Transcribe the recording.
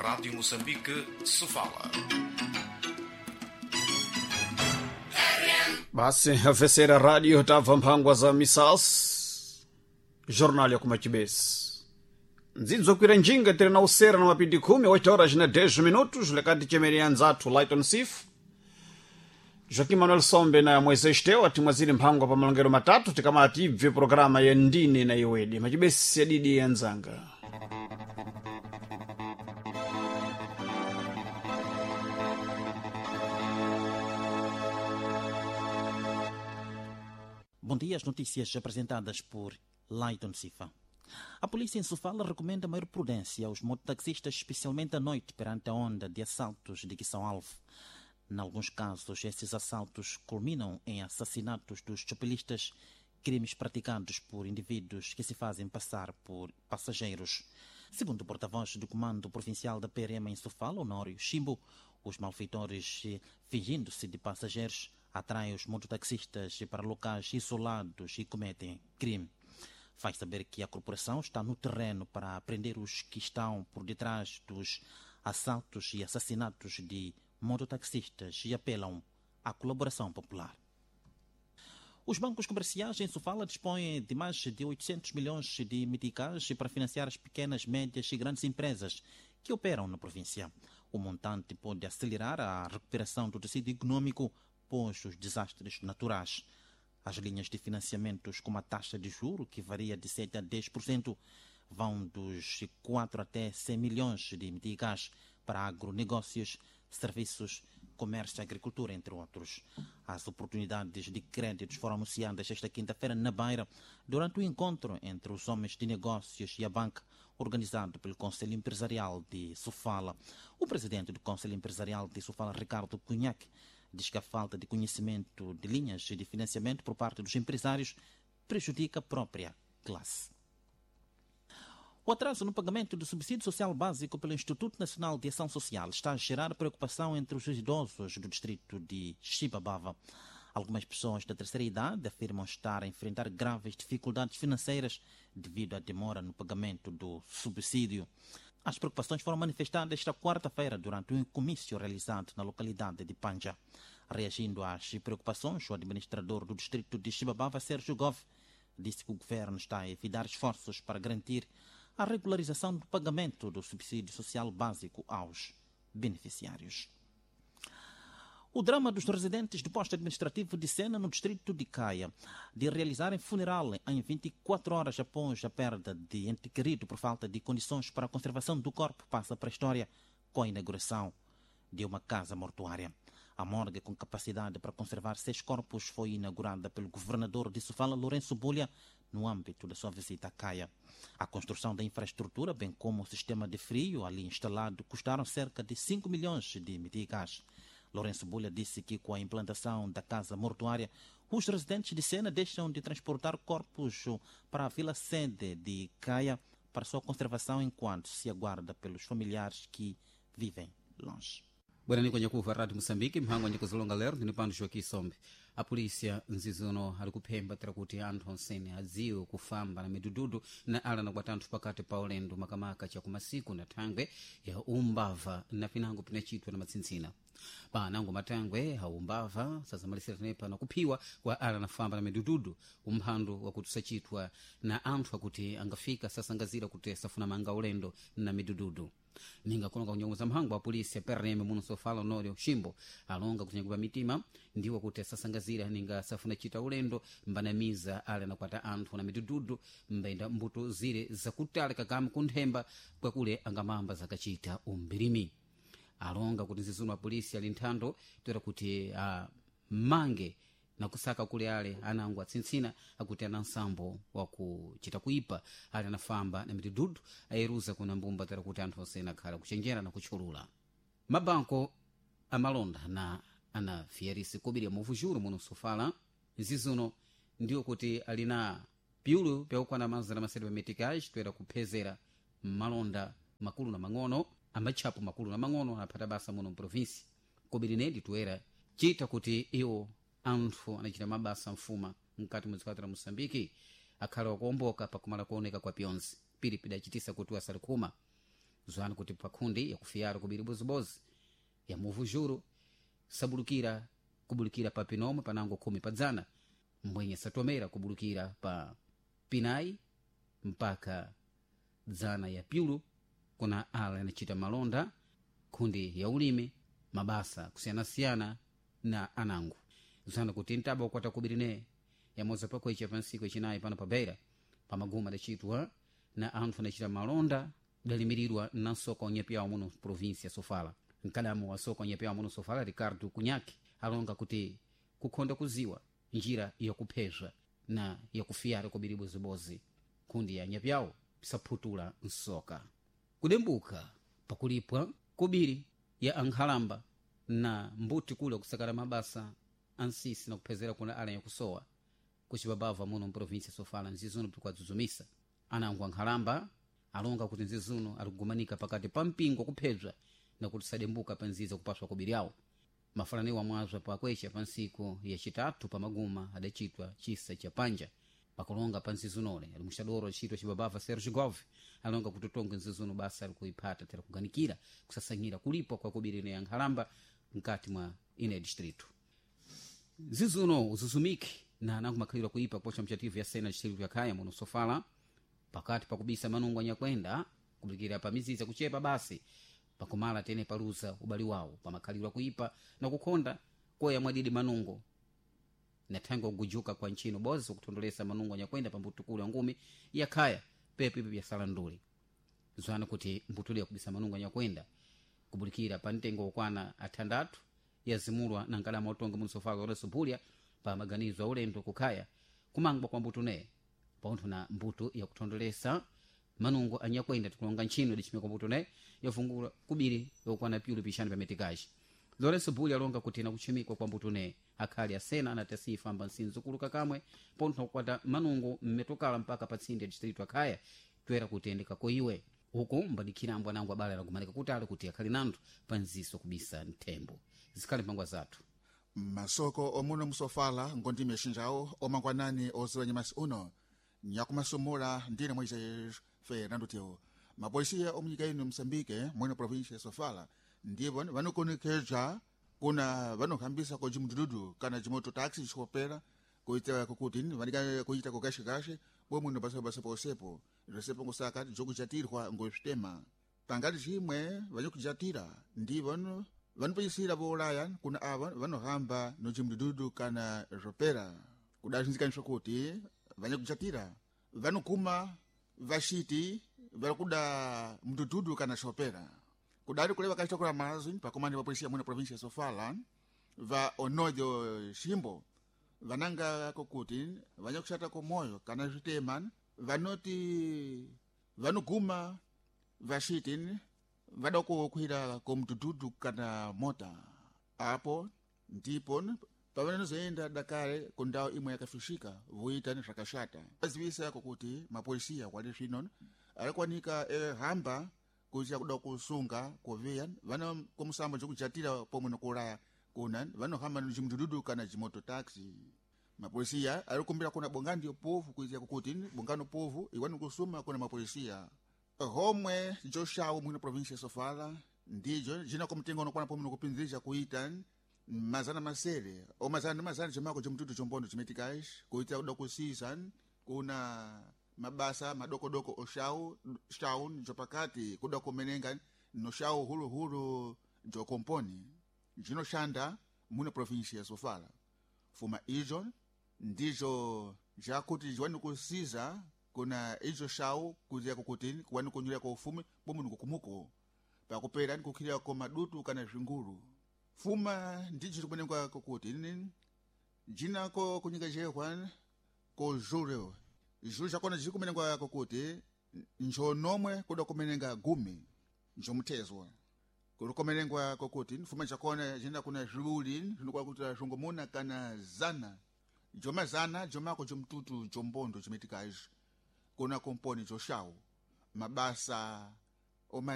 Rádio Moçambique, Sofala. Basi afesera radio tabva mphangwa za misas jornal ya kumachibesi ndzidzo kwira njinga tiri na usera na mapindi 10 8 horas na 10 minutos lekati chemeria nzathu Lighton Sif Joaquim Manuel Sombe na Moisés Teo atimwaziri mphangwa pa malongero matatu tikamati ibve programa ya ndine na iwedi machibesi yadidi ya nzanga. Bom dia, as notícias apresentadas por Lighton Sifa. A polícia em Sofala recomenda maior prudência aos mototaxistas, especialmente à noite, perante a onda de assaltos de que são alvo. Em alguns casos, esses assaltos culminam em assassinatos dos chopelistas, crimes praticados por indivíduos que se fazem passar por passageiros. Segundo o porta-voz do Comando Provincial da PRM em Sofala, Honório Chimbo, os malfeitores, fingindo-se de passageiros, atraem os mototaxistas para locais isolados e cometem crime. Faz saber que a corporação está no terreno para prender os que estão por detrás dos assaltos e assassinatos de mototaxistas e apelam à colaboração popular. Os bancos comerciais em Sofala dispõem de mais de 800 milhões de meticais para financiar as pequenas, médias e grandes empresas que operam na província. O montante pode acelerar a recuperação do tecido econômico pós os desastres naturais. As linhas de financiamentos com uma taxa de juro que varia de 7 a 10% vão dos 4 até 100 milhões de meticais para agronegócios, serviços, comércio e agricultura, entre outros. As oportunidades de créditos foram anunciadas esta quinta-feira na Beira, durante o encontro entre os homens de negócios e a banca, organizado pelo Conselho Empresarial de Sofala. O presidente do Conselho Empresarial de Sofala, Ricardo Cunhaque, diz que a falta de conhecimento de linhas de financiamento por parte dos empresários prejudica a própria classe. O atraso no pagamento do subsídio social básico pelo Instituto Nacional de Ação Social está a gerar preocupação entre os idosos do distrito de Chibabava. Algumas pessoas da terceira idade afirmam estar a enfrentar graves dificuldades financeiras devido à demora no pagamento do subsídio. As preocupações foram manifestadas esta quarta-feira durante um comício realizado na localidade de Panja. Reagindo às preocupações, o administrador do distrito de Chibabava, Sérgio Goff, disse que o governo está a evitar esforços para garantir a regularização do pagamento do subsídio social básico aos beneficiários. O drama dos residentes do posto administrativo de Sena, no distrito de Caia, de realizarem funeral em 24 horas após a perda de ente querido por falta de condições para a conservação do corpo, passa para a história com a inauguração de uma casa mortuária. A morgue, com capacidade para conservar 6 corpos, foi inaugurada pelo governador de Sofala, Lourenço Bulha, no âmbito da sua visita à Caia. A construção da infraestrutura, bem como o sistema de frio ali instalado, custaram cerca de 5 milhões de meticais. Lourenço Bulha disse que com a implantação da casa mortuária, os residentes de Sena deixam de transportar corpos para a vila sede de Caia para sua conservação enquanto se aguarda pelos familiares que vivem longe. Bwerani kwenye kuva Rádio Moçambique, mhango nyikuzilonga lero ndini pano Joaquim Sombe. A polícia nzizuno ali kuphemba tera kuti anthu onsene adziwe kufamba na midududu na ala nakwata anthu pakati pa ulendo makamaka chakumasiku na thangwe ya umbava na pinango pinachitwa na matsintsina. Pa nango matangwe aumbava sazamalisira tenepa na kuphiwa kwa ala nafamba na midududu, umphandu wakuti usachitwa na anthu akuti angafika sasangazira kuti safuna manga ulendo na midududu. Ninga kulonga kunyongoza mhango wa polisi PRM muno Sofala Honório Chimbo alonga kutinyakupa mitima ndiwo kuti asasangazira ninga safuna chita ulendo mbanamiza ale anakwata anthu na midududu mbaenda mbuto zire zakutali kakami kunthemba kwakule angamamba zakachita umbirimi. Alonga kuti nzizuno wa polisi ali nthando toera kuti mange na kusaka kule ale anango atsintsina akuti ana nsambo wakuchita kuipa ale anafamba na midududu ayeruza kuna mbumba tera kuti anthu osena akhala kuchenjera na kutchulula. Mabanko amalonda na anafiyarisi kobiri ya muvujuru muno Sofala nzizuno ndiwo kuti ali na piulu pyakukwana mazana masere pa meticage toera kuphezera malonda makulu na mang'ono amatchapo makulu na mang'ono anaphata basa muno mprovinsi kobiri nedi toera chita kuti iwo anthu anachita mabasa mfuma mkati mwa dziko la Moçambique akhala wakuomboka pakumala kuoneka kwa pyonse pili pidachitisa kuti asali khuma. Zwani kuti pakhundi yakufiyara kubiri bozibozi ya muvu juro sabulukira kubulukira pa pinomwe panango 10 padzana, mbwenye satomera kubulukira pa pinayi mpaka dzana ya pyulu kuna ala yanachita malonda khundi ya ulimi mabasa kusiyanasiyana na anangu. Zana kuti ntaba ukwata kubirine yamoza pakwecha pansiku echinayi pano pa Beira pamaguma adacitwa na anthu adacita malonda dalimirirwa na nsoka onyepeyawo muno província Sofala. Mkadamu wa soka onyepeyawo muno Sofala Ricardo Kunyaki alonga kuti kukhonda kuziwa njira yakuphezwa na yakufiyara kubiri bozibozi kundi ya nyapyawo saphutula nsoka. Kudembuka pakulipwa kubiri ya ankhalamba na mbuti kula kusakala mabasa ansisi na kuphezera kuna ala yakusowa kucipabava muno mprovinsia Sofala nzizuno pikwadzudzumisa anangu ankhalamba alonga kuti nzizuno alikugumanika pakati pa mpingo kuphedzwa na kuti sadembuka pa nziza kupaswa kubiri awo. Mafalaniwa mwazwa pakwecha pa nsiku yacitatu pamaguma adacitwa chisa cha panja pakulonga pa nzizunole ali muxadoro acitwa cibabava Sergio Gove alonga kuti utonge nzizuno basa alikuiphata tera kuganikira kusasanyira kulipwa kwa kubiri ine ya nkhalamba mkati mwa ine distrito. Nzizuno uzuzumiki na anangu makhaliro kuipa kupocha mchativu ya sena distrito ya Khaya muno Sofala pakati pakubisa manungo anyakwenda kubulikira pa miziza kuchepa basi pakumala tene paluza ubali wawo pamakhaliro akuipa na kukhonda koya mwadidi manungo na thango kugujuka kwa ntchino bozi kuthondolesa manungo anyakwenda pa mbutukulu ya ngumi ya Khaya pepo ipi byasala nduli. Zwana kuti mbutuli yakubisa manungo anyakwenda kubulikira pa mtengo wokwana athandathu yazimulwa na nkalama utonga muno Sofala Lourenço Bulya pa maganizo a ulendo kukhaya kumangwa kwa mbutu ne paunthu na mbutu yakuthondolesa manungo anyakwenda tikulonga ntchino idacimika mbuto ne yafungula kubiri yokwana pyulu pixanu pa metikaci. Lourenço Bulya alonga kuti nakuchimikwa kwa mbuto ne akhali asena anati asifa amba nsinzu kuluka kamwe pontho nakukwata manungo mmetokala mpaka pa tsinde ya distrito akhaya toera kutendeka koiwe uku mbadikhira ambo anango abale alagumanika kutali kuti akhali nanthu pa nziso kubisa nthembo. Zikhali mphangwa zathu masoko omuno musofala ngondime xinjawo omangwanani oziwa nyamasi uno nyakumasumula ndine Moisés Fernando Teo. Mapolisiya omunyika ino Moçambique mwino província ya Sofala ndivo vanokonekeza kuna vanohambisa ko cimudududu kana cimoto taxi xikopera kuita kukuti vanika kuita kukashikashe bomwino basa posepo zvosepo ngosaka jokujatirwa ngosvitema pangati chimwe vanyokujatira ndivo vanopeyisira voulaya kuna ava vanohamba nocimudududu kana zvopera kudazinzikaniswa kuti vanyakujatira vanoguma vaxiti vari kuda mdududu kana xopera kudari kule vakaita kula mazwi pakomani va polisia muna província ya Sofala va onodio ximbo vananga kokuti vanyakuxata komoyo kana zvitema vanoti vanoguma vaxiti vada kukwira komdududu kana mota apo ndipo pavanozoenda dakare kundau imwe yakafishika voita nezvakashata vazivisa kokuti mapolisiya kwali zvino arikwanika ehamba kuita kuda kusunga kuviya vana komusambo jokujatira pomwe nokuuraya kuna vanohamba cimudududu kana cimoto taxi. Mapolisiya arikumbira kuna bongani yopovu kuita kukuti bongano povu iwani kusuma kuna mapolisiya homwe joxawo mwino província ya Sofala ndijo jina komtengo unokwana pomwe nokupinzisha kuita mazana masere o mazana ndi mazana chimako chomtutu chombondo chimetikachi kuita kuda kusisa kuna mabasa madokodoko oxau xau jopakati kuda kumenenga noxau huluhulu jokomponi jinoxanda muna província ya Sofala. Fuma ijo ndijo jakuti jiwani kusiza kuna ijo xau kutia kukuti kuwani kunyulira kwa ufumi pomwe nikukumuko pakupera nikukhilira ko madutu kana zvingulu. Fuma ndijo tikumenengwa kokuti jinako kunyikajehwa ko juro juro chakona jikumenengwa kokuti njonomwe kuda kumenenga gumi njomuthezwa kulikomenengwa kokuti fuma chakona jina kuna zviwuli zvinokuwa kuti zvongomuna kana zana jomazana jomako jomtutu jombondo chimetikaji kuna komponi joxawu mabasa oma